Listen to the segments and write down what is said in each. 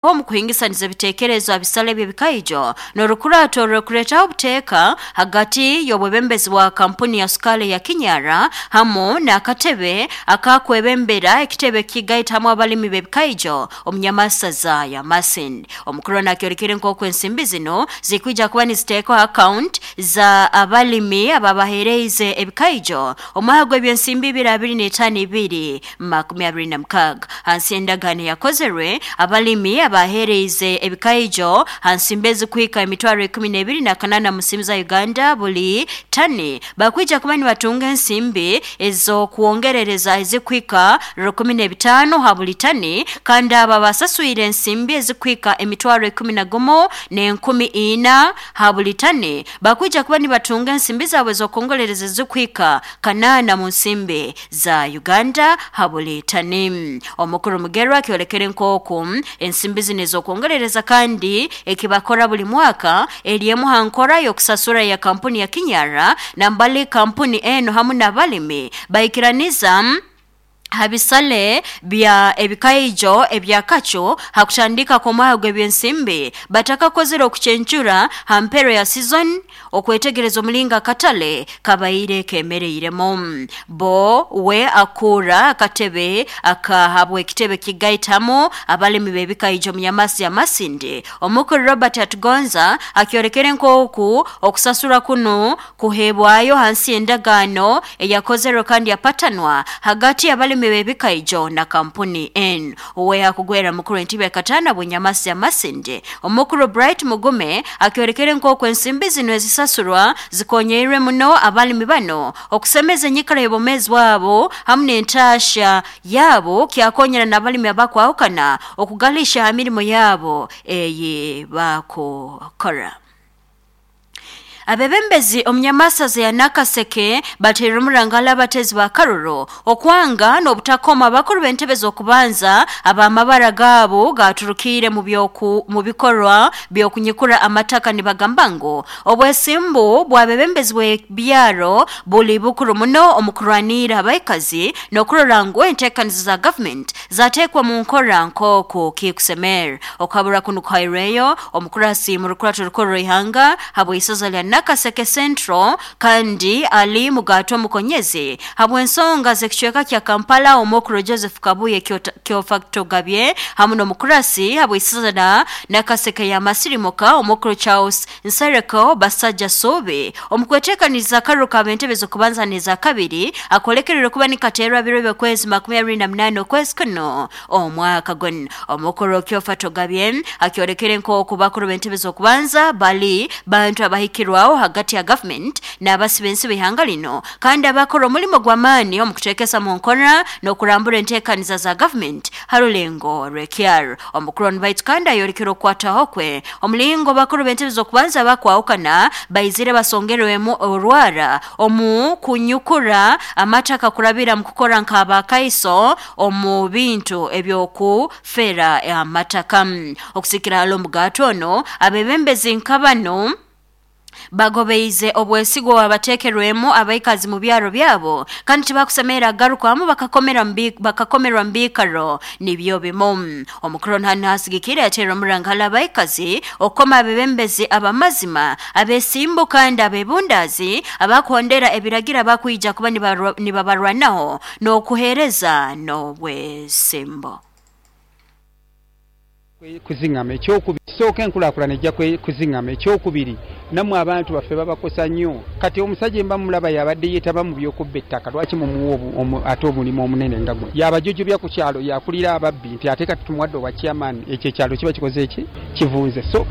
Omu kuhingisaniza ebiteekerezo abisale by'ebikaijo n'orukurato orw'okuleetaho obuteeka hagati y'obwebembezi bwa kampuni ya sukaali ya Kinyara hamu n'akatebe akakwebembera ekitebe kigaita hamu abalimi b'ebikaijo omunyamasaza ya Masindi. Omukuru nakyolekere nk'oku ensimbi zino zikwija kuba niziteekwa account za abalimi ababahereize ebikaijo omwaka gw'ebyensimbi 2025 2026. Hansi y'endagaano yakozerwe abalimi abahereize ebikaijo hansimbi ezikuhika emitwaro 12 na 8 mu nsimbi za Uganda buli tani bakwija kuba nibatunga ensimbi ez'okwongerereza ezikuhika 15 ha buli tani, kandi abo abasaswire ensimbi ezikuhika emitwaro 11 n'enkumi ina ha buli tani bakwija kuba nibatunga ensimbi zaabwe ez'okwongerereza ezikuhika 800 mu nsimbi za Uganda ha buli tani. Omukuru Mugerwa akyolekere nk'oku ensimbi zino ez'okwongerereza kandi ekibakora buli mwaka eri emu ha nkora y'okusasura ya kampuni ya Kinyara, nambali kampuni eno hamu n'abalimi baikiraniza ha bisale bya ebikaijo ebyakacu hakutandika kw'omwaka gw'ebyensimbi batakakozere okucencura ha mpero ya season okwetegereza omulingo akatale kabaire kemereiremu. Bo we akura akatebe akahabwa ekitebe kigaitamu abalimi b'ebikaijo munyamasi ya Masindi, omukuru Robert Atugonza, akyolekere nk'oku okusasura kunu kuheebwayo hansi y'endagaano eyakozerwe kandi yapatanwa hagati y'abalimi b'ebikaijo na kampuni N. Uwe akugwera mukuru entebe ya katana bunyamasi ya Masindi, omukuru Bright Mugume, akyolekere nk'oku ensimbi zino ezisasurwa zikonyeirwe muno abalimi bano okusemeza enyikara y'obwomeezi bwabo hamu n'entaasha yaabo, kyakonyera n'abalimi abakwahukana okugalisha ha mirimo yabo eyi bakukora. Abebembezi omunyamasaza ya Nakaseke bateire omurangala abatezi ba Karuro okwanga n'obutakoma abakuru b'entebe z'okubanza abamabara gaabo gaturukiire mu byoku mu bikorwa by'okunyikura amataka, nibagamba ngu obwesimbu bw'abebembezi bw'ebyaro buli bukuru muno omu kurwanira abaikazi n'okurora ngu enteekanizo za government zateekwa mu nkora nk'oku kikusemera. Okukabura kunu kuhairweyo omukurasi mu rukurato rukuru rw'ihanga habw'isoza lya Nakaseke Central kandi ali mugato mukonyezi habw'ensonga z'ekicweka kya Kampala, omukuru Joseph Kabuye Kyofatogabye, hamu n'omukurasi habw'isoza la Nakaseke ya Masirimuka, omukuru Charles Nsereko Basajja Sobe, omu kweteekaniza akaruru k'ab'entebe z'okubanza n'eza kabiri akolekerere kuba nikateerwa biro by'okwezi 28 okwezi kuno omwaka guno. Omukuru Kyofatogabye akyolekere nk'oku bakuru b'entebe z'okubanza bali bantu abahikirwaho hagati ya government n'abasiba ensi b'ihanga lino kandi abakora omulimo gw'amaani omu kuteekesa mu nkora n'okurambura enteekaniza za government ha rulengo rw'ekyaro. Omukuru onu baitu kandi ayolekere okukwataho kwe omulingo bakuru b'entebe z'okubanza bakwahukana baizire basongerwemu orwara omu kunyukura amataka kurabira mu kukora nk'abakaiso omu bintu eby'okufera amataka. Okusikira hali omugato ono, abebembezi nka bano bagobeize obwesigwa abateekerwemu abaikazi mu byaro byabo kandi tibakusemerera agarukwamu bakakomerwa mu biikaro nibyo bimu. Omukuru hanu hasigikire yateera omurangala abaikazi okukoma abebembezi abamazima, abesimbu kandi abebundaazi abakuhondera ebiragira bakwija kuba nibabarwanaho n'okuheereza n'obwesimbo. Kuzingama ekyokubiri, kisooka enkulaakulana ejja kuzingama. Ekyokubiri, nammwe abantu baffe babakosa nnyo. Kati omusajja emba mulaba yabadde yeetaba mu by'okubba ettaka, lwaki mumuwa ate omulimu omunene nga guno? Yabajojobya ku kyalo, yakulira ababbi nti ate kati tumuwadde obwa chairman, ekyo ekyalo kiba kikoze eki kivunze. So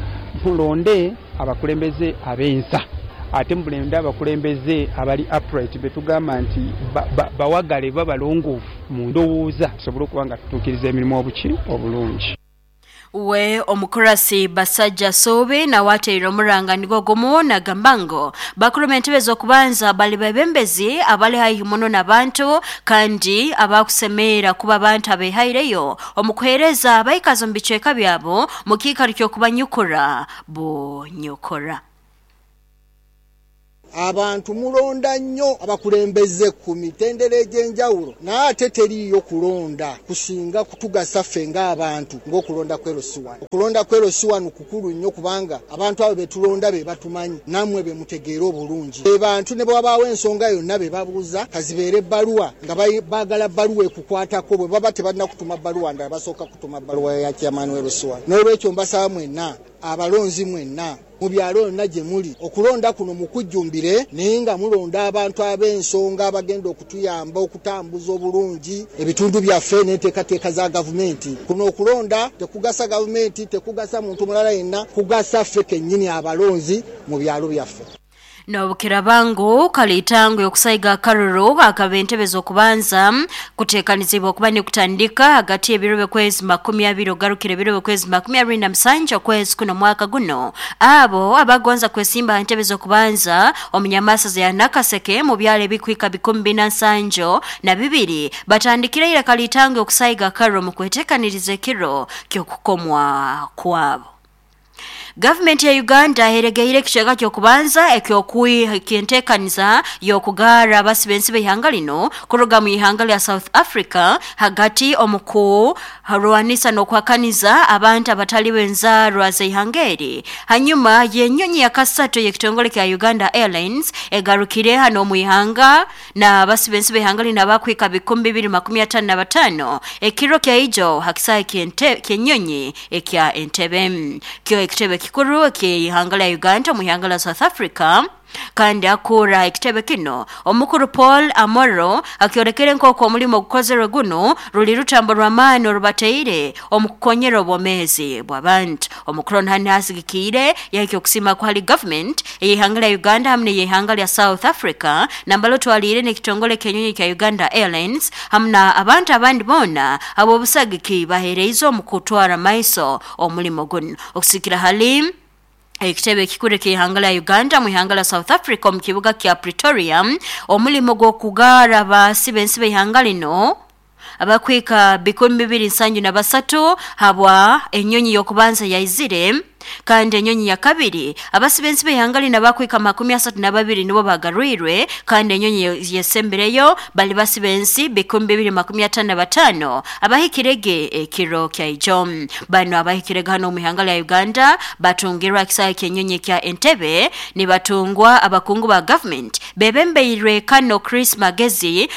mulonde abakulembeze ab'ensa, ate mulonde abakulembeze abali upright, betugamba nti bawagale babalongoofu mu ndowooza, tusobole okuba nga tutuukiriza emirimu obuki obulungi. We omukurasi Basajja Sobe nawe ateire omuranga nigwo gumu nagamba ngu bakuru b'entebe z'okubanza bali bebembezi abali haihi muno n'abantu kandi abakusemeera kuba abantu abehaireyo omu kuheereza abaikazi omu bicweka byabo mu kiikaro ky'okubanyukura bunyukura. Abantu mulonda nnyo abakulembeze ku mitendera egy'enjawulo, naye ate teriiyo kulonda kusinga kutugasa ffe ng'abantu ng'okulonda kwe LC1. Okulonda kwe LC1 kukulu nnyo kubanga abantu abo be tulonda be batumanyi, nammwe be mutegeera obulungi. Be bantu ne bwe wabaawo ensonga yonna be babuuza, kazibeere ebbaluwa nga baagala bbaluwa ekukwatako, bwe baba tebalina kutuma bbaluwa ndala basooka kutuma bbaluwa ya chairman we LC1. N'olwekyo mbasaba mwenna abalonzi mwenna mu byalo yonna gye muli, okulonda kuno mukujjumbire, naye nga mulonda abantu ab'ensonga abagenda okutuyamba okutambuza obulungi ebitundu byaffe n'enteekateeka za gavumenti. Kuno okulonda tekugasa gavumenti, tekugasa muntu mulala yenna, kugasa ffe kennyini abalonzi mu byalo byaffe. N'obukirabangu kalitango yokusaiga akaruru akaba entebe z'okubanza kuteekanizibwa okuba nikutandika hagati y'ebiro by'okwezi 20 ogarukire ebiro by'okwezi 27 okwezi kuno mwaka guno. Abo abagonza kwesimba aha ntebe z'okubanza omunyamasaza ya Nakaseke mu byalo ebikwika 47 batandikire ira kalitango okusaiga akaruru mu kweteekaniriza ekiro ky'okukomwa kwabo. Gavumenti ya Uganda eregeire ekicweka ky'okubanza ekyenteekaniza y'okugaara abasibe ensi b'eihanga lino kuruga mu ihanga lya South Africa hagati omu kurwanisa n'okuhakaniza abantu abatali b'enzaarwa z'eihanga eri. Hanyuma y'enyonyi ya kasatu y'ekitongole kya Uganda Airlines egarukire hano omu ihanga na abasibe ensi b'eihanga lino abakwika 2055 ekiro kya ijo hakisaayi ky'enyonyi ekya Entebbe. Kyo ekitebe kikuru eky'eihanga lya Uganda mu ihanga lya South Africa, kandi akura ekitebe kino omukuru Paul Amoro akyolekere nk'oku omulimu ogukozerwe guno ruli rutambo rw'amaani orubateire omu kukonyera obwomeezi bw'abantu. Omukuru nhani asigikiire yahika okusiima kwali government ey'eihanga lya Uganda hamu n'ey'eihanga lya South Africa nambala otwaliire n'ekitongole ky'enyonyi kya Uganda Airlines hamu na abantu abandi boona ab'obusagiki baheereize omu kutwara maiso omulimo guno. Okusikira hali ekitebe ekikuru eky'eihanga lya Uganda mu ihanga lya South Africa omu kibuga kya Pretoria, omulimo gw'okugaara abasibe ensi b'eihanga lino abakwika 273 habwa enyonyi y'okubanza yaizire, kandi enyonyi ya kabiri abasibe ensi b'eihanga lino abakwika 32 nibo bagarwirwe, kandi enyonyi yesembereyo bali basibe ensi 255 abahikirege ekiro kya ijo. Bano abahikirege hano omu ihanga lya Uganda batungirwa ekisaayi ky'enyonyi kya Entebbe, nibatungwa abakungu ba government bebembeirwe Kano Chris Magezi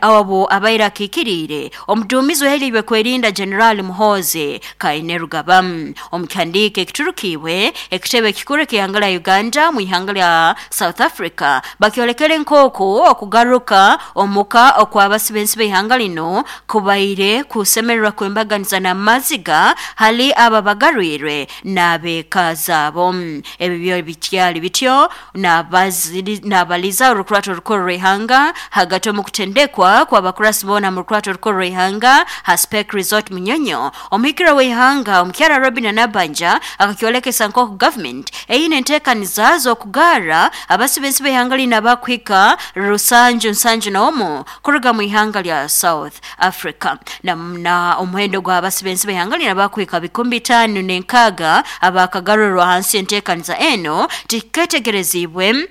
abo abaire akiikiriire omuduumizi ohereirwe kwerinda General Muhoozi Kainerugaba. Omu kihandiiko ekiturukiibwe ekitebe ekikuru eky'eihanga lya Uganda mu ihanga lya South Africa bakyolekere nk'oku okugaruka omuka okw'abasibe ensi b'eihanga lino kubaire kusemererwa kwembaganiza n'amaziga hali abo abagarwirwe n'abeeka zaabo. Ebi byo bikyali bityo n'abaliza orukurato orukuru rw'eihanga hagati omu kutendekwa kw'abakurasi boona mu rukurato orukuru rw'eihanga ha Speke Resort Munyonyo. Omuhikirwa w'eihanga omukyara Robina Nabanja akakyolekesa nk'oku government eine enteekaniza z'okugaara abasibe ensi b'eihanga lino abakuhika 771 kuruga mu ihanga lya South Africa. Na omuhendo gw'abasibe ensi b'eihanga lino abakuhika 506 abakagarurwa hansi enteekaniza eno tiketegerezibwe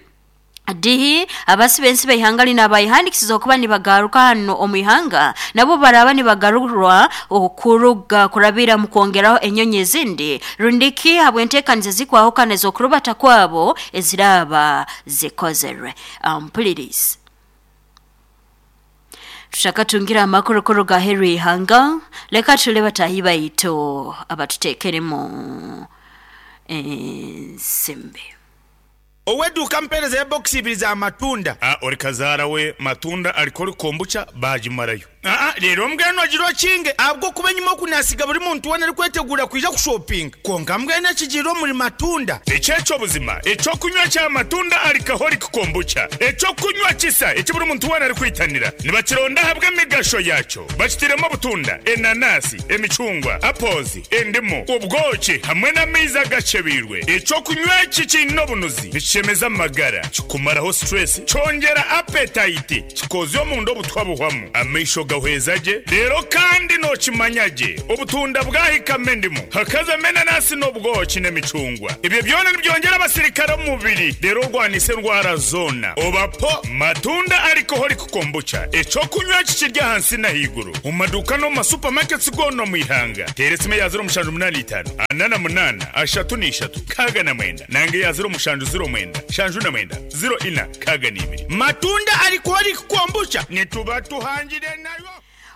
dihi abasibe ensi b'eihanga lino abayihandikisiza okuba nibagaruka hano omu ihanga nabo baraba nibagarurwa okuruga kurabira mu kwongeraho enyonyi ezindi rundiki habw'enteekaniza ezikwahukana ez'okurubata kwabo eziraba zikozerwe. Mpulirizi tushakatungira amakuru kuruga aheeru y'ihanga, leka tule bataahi baitu abatuteekeremu ensimbi. Ow'edduuka mpeereza ya bokisi ibiri za matunda. Ori kazaara we matunda ariko ori kombucha baagimarayo. Reero mbwenu ogira okinge ahabw'okuba enyima oku naasiga buri muntu weena arikwetegura kwija kushopinga. Kwonka mbwenu ekigiire omuri matunda. Ekyekyo buzima ekyokunywa kya matunda alcoholic kombucha. Ekyokunywa kisa eki buri muntu weena arikwitanira. Nibakironda ahabw'emigasho yakyo. Bakitiremu obutunda, enanasi, emicungwa, apples, endimu, obwoki hamwe n'amaizi agacebeirwe. Ekyokunywa eki kiine obunuzi, nikishemeza amagara, kikumaraho stress, kyongera appetite, kikoza omunda obutwa buhwamu. Amaisho Nigahweza gye reero kandi nookimanya gye obutunda bwahikamu endimu hakazamu enanasi n'obwoki n'emicungwa ebyo byona nibyongyera abasirikare omu mubiri reero orwanisa endwara zoona oba po matunda alcoholic kombucha ekyokunywa kikiri ahansi n'ahaiguru omu maduuka n'omu masupamaketi goona omu ihanga teera esimu eya 0785 48 33 69 nanga eya 0709 79 04 62 Matunda alcoholic kombucha nituba tuhangire nayo.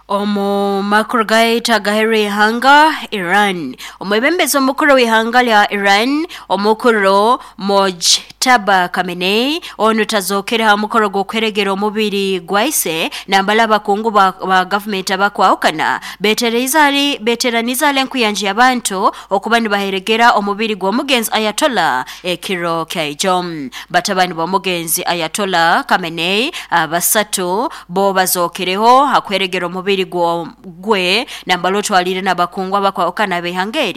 Omu makuru gaitu agaheru ihanga Iran, omwebembezi omukuru w'ihanga lya Iran omukuru Mojtaba Khamenei onu tazokere ha mukoro gw'okweregera omubiri gwaise nambala abakungu ba gavumenti abakwahukana beteraniza ali enkuyanja y'abantu okuba nibaheregera omubiri gw'omugenzi Ayatollah ekiro kyaijo. Batabani b'omugenzi Ayatollah Khamenei abasatu bo bazokereho hakweregera omubiri gwe nambala otwalire n'abakungu abakwahukana b'ihanga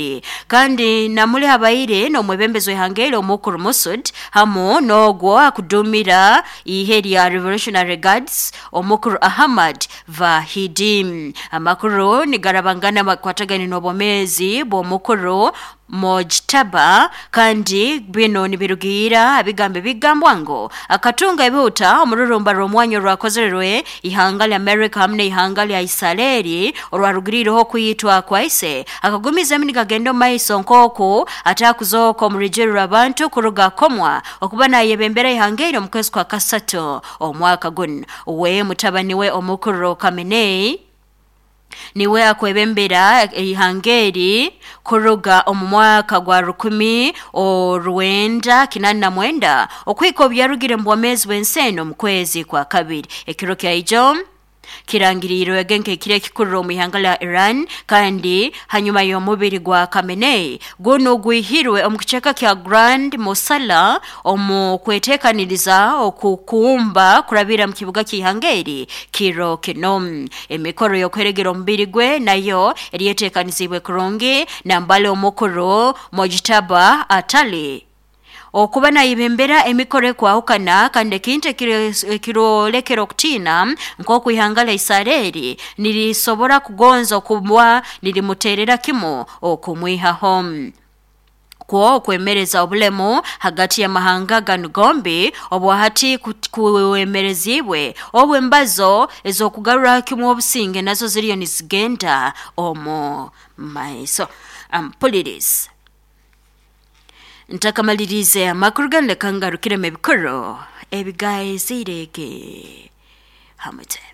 kandi namuli habaire n'omwebembezi w'ihanga omukuru Masud hamu n'ogwo akudumira ihe lya Revolutionary Guards omukuru Ahmad Vahidi. Amakuru nigarabangana makwatagani n'obwomezi bw'omukuru Mojtaba kandi bino nibirugira abigambo bigambwa ngo akatunga ebihuta omururumba rw'omwanya rwakozerwe ihanga lya America hamwe n'ihanga lya Israeli orwarugirireho kuyitwa kwaise akagumiza nigagenda maiso nk'oku atakuzooka omurujero rw'abantu kuruga komwa okuba nayebembera ihanga eryo mu kwezi kwa kasatu omwaka guno. We mutabani we omukuru Khamenei niwe akwebembera ihangeri kuruga omu mwaka gwa 1989 okwika obyarugire mu bwomezi bw'enseno mu kwezi kwa kabiri. Ekiro kyaijo kirangirirwe genke kire kikurura omu ihanga lya Iran kandi hanyuma y'omubiri gwa Khamenei guno gwihirwe omu kiceka kya Grand Mosala omu kwetekaniriza okukumba kurabira mu kibuga ky'ihangeri kiro kino. Emikoro y'okweregera omubiri gwe nayo eryetekanizibwe kurungi nambale omukuru Mojtaba atali okuba nayibembera emikoro ekwahukana kandi ekintu ekirolekera okutina nk'oku ihanga lya Israeli nirisobora kugonza okuba nirimuterera kimu okumwihaho kwo okwemereza obulemu hagati y'amahanga ganu gombi obwahati kuwemerezibwe obwo embazo ez'okugarura kimu obusinge nazo ziriyo nizigenda omu maiso. Ampuliriza ntakamalirize amakuru ganu leka ngarukiremu ebikuru ebigaizirege hamute.